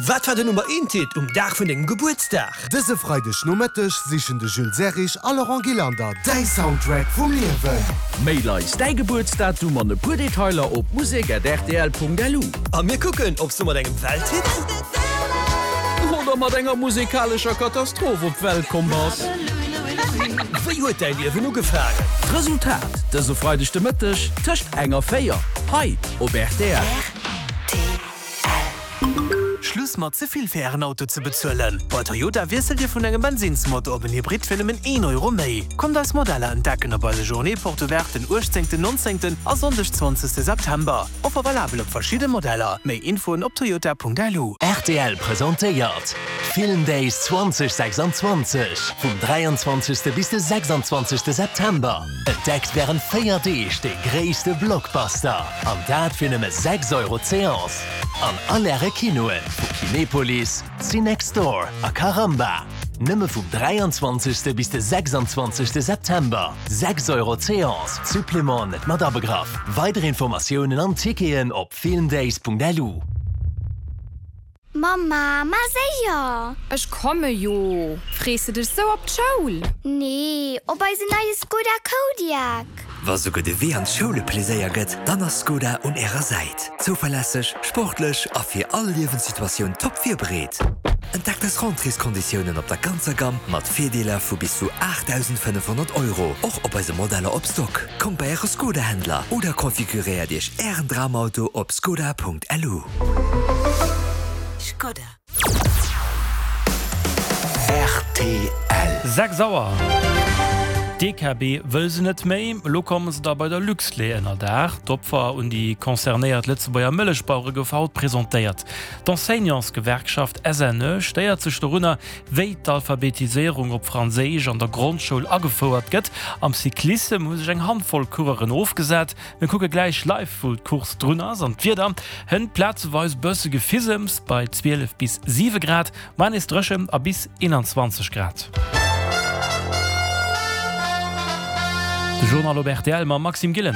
Wat war den Nummer eent Hit um Dag vun dengem Gebuertsdag? Dëse Freideg Nomëtteg sichen de Jules Serrig a Laurent Gillander däi Soundtrack vum Liewen. Mail eis däi Gebuertsdatum an e puer Detailer op musek@rtl.lu. A mir kucken, ob s du mat engem Welthit. Oder mat enger musekalescher Katastroph op d'Welt komm bass. Wéi huet däi Liewen ugefaangen? D'Resultat dëse Freideg de Mëtteg tëscht eng a 4 hei op rtl. Schluss mat ze vill fir ären Auto ze bezuelen! Bei Toyota wiesselt Dir vun engem Bensinnsmotor op en Hybrid fir nëmmen een Euro méi. Kommt eis Modeller entdecken op eise Journée Porte Ouverte den 18, 19 a Sonndeg 20 September. Offer valabel op verschidde Modeller. Méi Infoen op toyota.lu. Rtl presentéiert d'Film Days 2026 vum 23 bis de 26 September. Entdeckt wärend 4 Deeg de gréisste Blockbuster, an dat fir nëmme 6 Euro d'Seance. An all äre Kinoe vu Kinepolis, Cinextdoor a Caramba. Nëmme vum 23. Bis de 26. September. 6 Euro d'Seance, Supplément net mat abegraff. Weider Informatiounen an Ticketen op filmdays.lu. Mamma, ma séier! Ech komme jo! Frees de dech sou op d'Schoul? Nee, op eisen neie Skoda Kodiaq! Wa souguer de Wee an d'Schoul e Pleséier gëtt, dann ass Skoda un ärer Säit. Zouverlässeg, sportlech a fir all Liewenssituatioun top virbereet. Entdeckt eis Rentréeskonditiounen op der ganzer Gamm mat Virdeeler vu bis zu 8.500 Euro, och op eise Modeller op Stock. Kommt bei äre Skoda-Händler oder konfiguréiert iech ären Dramauto op skoda.lu. Skoda. Rtl. 6 Auer. D'DKB wëll se net méi. Elo komme se da bei der Luxlait ënnerdaach. D'Opfer un déi concernéiert Lëtzebuerger Mëllechbauere gouf haut presentéiert. D'Enseignantsgewerkschaft SNE stéiert sech dorunner, wéi d'Alphabetiséierung op Franséisch an der Grondschoul agefouert gëtt. Am Cyclissem hu sech eng Handvoll Coureuren ofgesat. Mir kucke gläich live wou d'Course drun ass an d'Wieder hënt plazeweis bësse Gefisems bei 12 bis 7 Grad, mar nees dréchen a bis 21 Grad. De Journal op rtl mam Maxime Gillen.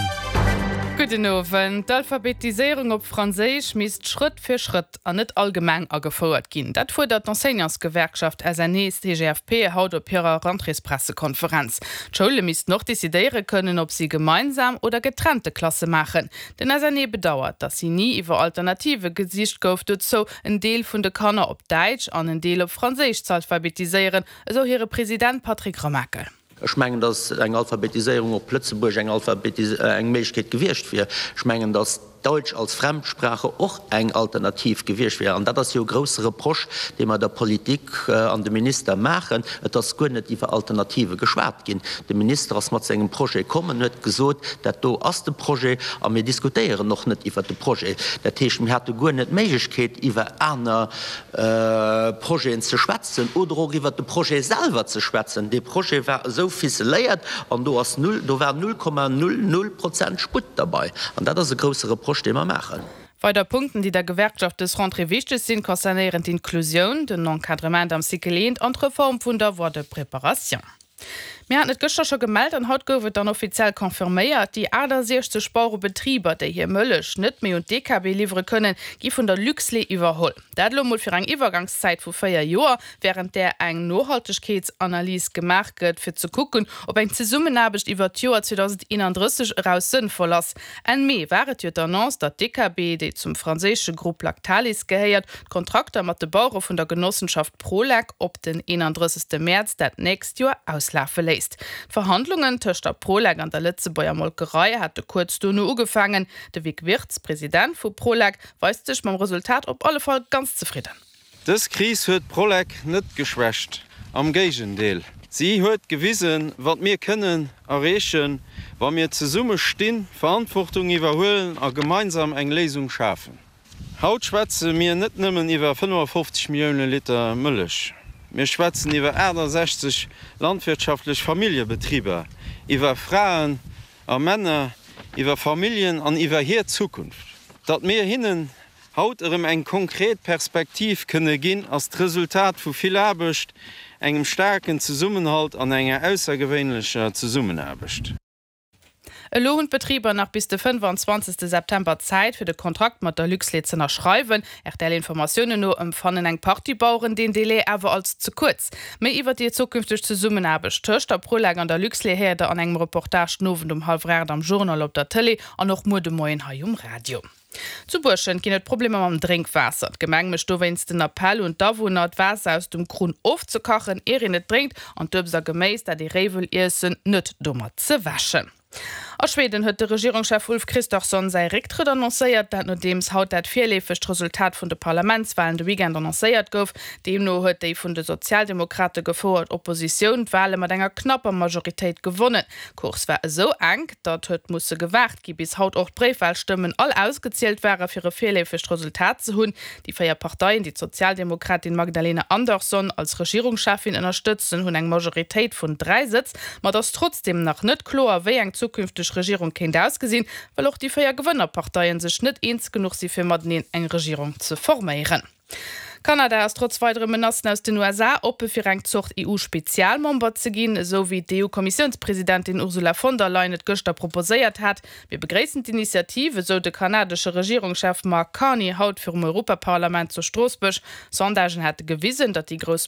Gudden Owend. D'Alphabetiséierung op Franséisch misst Schrëtt fir Schrëtt an net allgemeng agefouert ginn. Dat fuerdert d'Enseignantsgewerkschaft SNE-CGFP haut op hirer Rentréespressekonferenz. D'Schoule missten och decidéiere kënnen, ob si gemeinsam oder getrennte Klasse maachen. Den SNE bedauert, datt si ni iwwer Alternative gesicht gouf dozou, en Deel vun de Kanner op Däitsch an en Deel op Franséisch z'alphabetiséieren, esou hire President Patrick Remakel. Ech mengen, datt eng Alphabetiséierung op Lëtzebuerg eng eng Méiglechkeet gewiescht wier. Ech mengen, datt Deutsch als Fremdsprache och eng Alternativ gewiescht wier. An dat ass jo e grousse Reproche, dee mer der Politik an dem Minister maachen. Et ass guer net iwwer Alternative geschwat ginn. De Minister ass mat sengem Projet komm en huet gesot, dat do ass de Projet a mir diskutéieren och net iwwert de Projet. Dat heescht, mir hate guer net d'Méiglechkeet, iwwer aner Projeten ze schwätzen oder och iwwert de Projet selwer ze schwätzen. Dee Projet war esou ficeléiert an do ass null, do war 0,00 Prozent Sputt derbei. An dat ass e grousse Reproche, dee mer maachen. Weider Punkten, déi der Gewerkschaft dës Rentrée wichteg sinn, concernéieren d'Inklusioun, den Encadrement am Cycle 1 an d'Reform vun der Voie de préparation. Mir haten et gëschter scho gemellt an haut gouf et dann offiziell confirméiert, Déi 68 Bauerebetriber, déi hir Mëllech net méi un d'DKB liwwere kënnen, gi vun der Luxlait iwwerholl. Dat elo mol fir eng Iwwergangszäit vu 4 Joer, wärend där eng Nohaltegkeetsanalys gemaach gëtt, fir ze kucken, ob eng Zesummenaarbecht iwwert d'Joer 2031 eraus sënnvoll ass. Enn Mee war et jo d'Annonce, datt d'DKB, déi zum franséische Grupp Lactalis gehéiert, d'Kontrakter mat de Bauere vun der Genossenschaft Prolec op den 31. Mäerz dat nächst Joer auslafe léisst. D'Verhandlungen tëscht der Prolec an der Lëtzebuerger Molkerei hate kuerz dono ugefaangen. De Vic Wirtz, President vu Prolec, weist sech mam Resultat op alle Fall ganz zefridden. Dës Kris huet d'Prolec net geschwächt, am Géigendeel, si huet gewisen, wat mir kënnen erreechen, wa mir zesumme stinn, Verantwortung iwwerhuelen a gemeinsam eng Léisung schafen. Haut schwätze mir net nëmmen iwwer 55 Millioune Liter Mëllech, mir schwätzen iwwer 68 landwirtschaftlech Familljebetriber, iwwer Fraen a Männer, iwwer Familljen an iwwer hir Zukunft. Datt mir hinnen haut erëm eng konkret Perspektiv kënne ginn, ass d'Resultat vu vill Aarbecht, engem staarken Zesummenhalt an enger aussergewéinlecher Zesummenaarbecht. Elo hunn d'Betriber nach bis de 25 September Zäit, fir de Kontrakt mat der Luxlait z'ënnerschreiwen. RTL-Informatiounen no ëmfannen eng Partie Baueren deen Delai awer als ze kuerz. Méi iwwer déi zukünfteg Zesummenaarbecht tëscht der Prolec an der Luxlait héiert der an engem Reportage den Owend um hallwer 8 am Journal op der Tëlee an och muer de Moien hei um Radio. Zu Buerschent ginn et Problemer mam Drénkwaasser. D'Gemeng mécht dowéinst den Appell un d'Awunner, d'Waasser aus dem Krunn ofzekachen, ier een et drénkt, an d'Uebst a Geméis, dat ee réi wëll iessen, net domat ze wäschen. A Schweden huet de Regierungschef Ulf Kristersson säi Récktrëtt annoncéiert. Dat nodeems haut dat virleefegt Resultat vun de Parlamentswalen de Weekend annoncéiert gouf. Deemno huet déi vun de Sozialdemokrate gefouert Oppositioun d'Wale mat enger knapper Majoritéit gewonnen. D'Course war esou enk, datt huet musse gewaart gi bis haut och d'Bréifwalstëmmen all ausgezielt ware fir e virleefegt Resultat ze hunn. Déi 4 Parteien, déi d'Sozialdemokratin Magdalena Andersson als Regierungscheffin ënnerstëtzen, hunn eng Majoritéit vun 3 Sëtz. Ma et ass trotzdeem nach net kloer, wéi eng zukünfteg Regierung kéint ausgesinn, well och déi 4 Gewënnerparteien sech net eens genuch si fir mateneen eng Regierung ze forméieren. Kanada ass trotz weidere Menacen aus den USA oppe fir eng Zort EU-Spezialmember ze ginn, esou wéi d'EU-Kommissiounspresidentin Ursula von der Leyen et gëschter proposéiert hat. Mir begréissen d'Initiativ, esou de kanadesche Regierungschef Mark Carney haut virum Europaparlament zu Stroossbuerg. Sondagen hätte gewisen, datt déi grouss.